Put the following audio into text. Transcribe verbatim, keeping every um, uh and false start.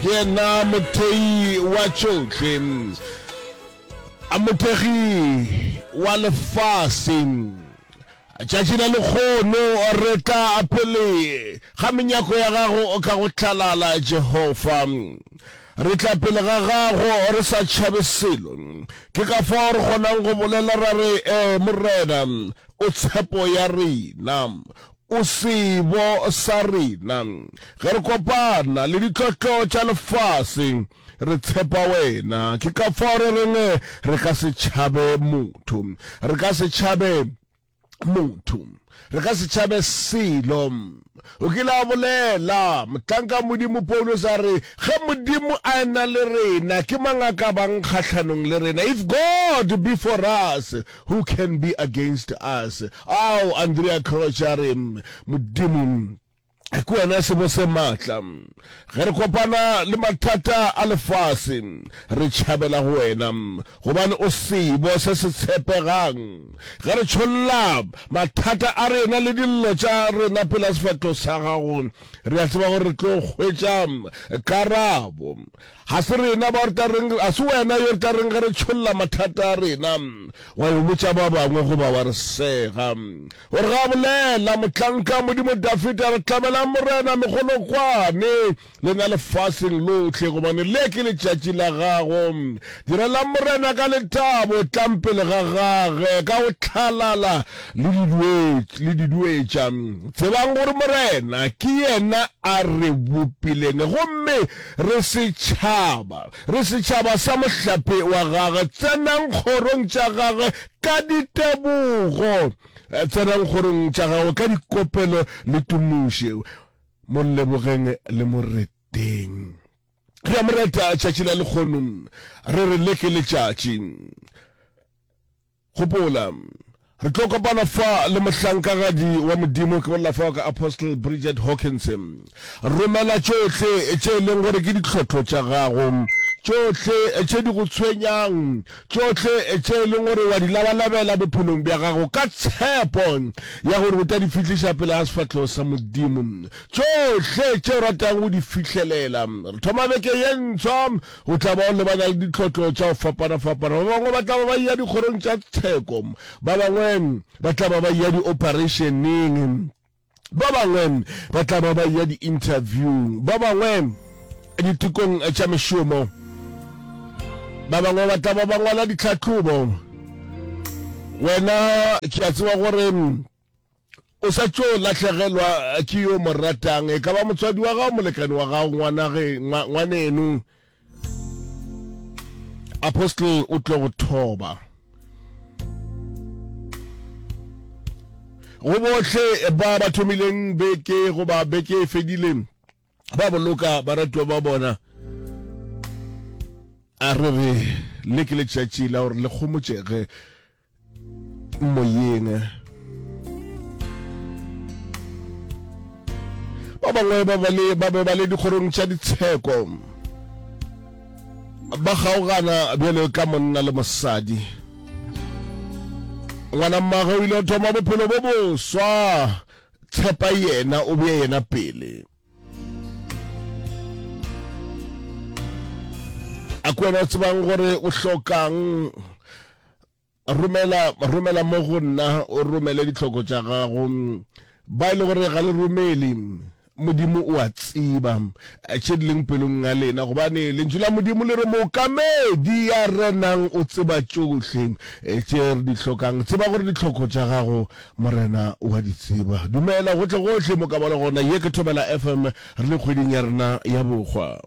Ke yena mothei wa tšohle, a mothekgi wa lefase. Tšatši la lekgono re tla pele ga menyako ya gago ka go hlalala, Jehofa. Re tla pele ga gago re sa tšhabe selo. Ke ka fao re kgonang go bolela ra re, Ee, Morena, o tshepo ya rena. O sebo sa rena. Ge re kopana le ditlotlo tša lefase, re tshepa wena. Ke ka fao re reng re ka se tšhabe motho. Re ka se tšhabe motho. Re ka se tšhabe selo. O kile a bolela, mohlanka Modimo Paulus a re, ge Modimo a ena le rena, ke mang a ka bang kgahlanong le rena? If God be for us, who can be against us? Ao, Andrea Crouch a re, Modimo, ke wena sebo se maatla. Ge re kopana le mathata a lefase, re tšhabela go wena, gobane o sebo se se tshepegang. Ge re tšholla mathata a rena le dillo tša rena pela sefahlogo sa gago, re a tseba gore re tlo hwetša karabo. Ga se rena ba re tla reng, ga se wena yo re tla reng ge re tšholla mathata a rena, wa yo botša ba bangwe goba wa re sega. Gore ga bolela mohlanka Modimo Dafida, re tlabelang Morena megolokwane lena lefaseng lohle, gobane le ke letšatši la gago. Direlang Morena ka lethabo, tlang pele ga gage ka go hlalala le diduetša. Tsebang gore Morena ke yena a re bopileng, gomme re setšhaba, re setšhaba sa mohlape wa gage. Tsenang kgorong tša gage ka ditebogo, tsenang kgorong tša gagwe ka dikopelo le tumoše, mo lebogeng le mo reteng. Re a mo reta tšatši la lekgono, re re le ke letšatši. Gopola, re tlo kopana fa le mohlankagadi wa Modimo, ke bolela fao ka Apostle Bridget Hawkins. Romela tšohle tše e leng gore ke ditlhotlo tša gago, tšohle tše di go tshwenyang, tšohle tše e leng gore wa di labalabela bophelong bja gago, ka tshepo ya gore o tla di fihliša pele ga sefahlogo sa Modimo. Tšohle tše o ratang go di fihlelela. Re thoma beke ye ntshwa. O tla ba o lebana le ditlhotlo tša go fapana-fapana. Ba bangwe ba tla ba ba eya dikgorong tša tsheko, ba bangwe ba tla ba ba eya di-operationeng, ba bangwe ba tla ba ba eya di-interviewng, ba bangwe ditekong tša mešomo, ba bangwe ba tla ba ba ngwala ditlhahlobo. Wena ke a tseba gore o sa tšo lahlegelwa ke yo mo ratang, e ka ba motswadi wa gago, molekane wa gago, ngwanage, ngwaneno. Apostle o tlo go thoba. Go bohle ba ba thomileng beke goba beke e fedile ba boloka baratiwa ba bona, a re re le ke letšatši la gore le kgomotšege moyeng. Ba bangwe ba ba le ba be ba le dikgorong tša ditsheko, ba kgaogana bjalo ka monna le mosadi. Ngwana mmagwe o ile go thoma bophelo bo boswa, tshepa yena, o bee yena pele. A ke wena o tsebang gore o hlokang? Romela, romela mo go nna, o romele ditlhoko tša gago. Ba e le gore ga le romele, Modimo o a tseba tše di leng pelong ya lena, gobane Lentšu la Modimo le re, Mookamedi ya renang o tseba tšohle tše re di hlokang. Tseba gore ditlhoko tša gago Morena o a di tseba. Dumela gohle gohle mo ka ba le gona. Ye ke Thobela F M, re le kgweding ya rena ya bohwa.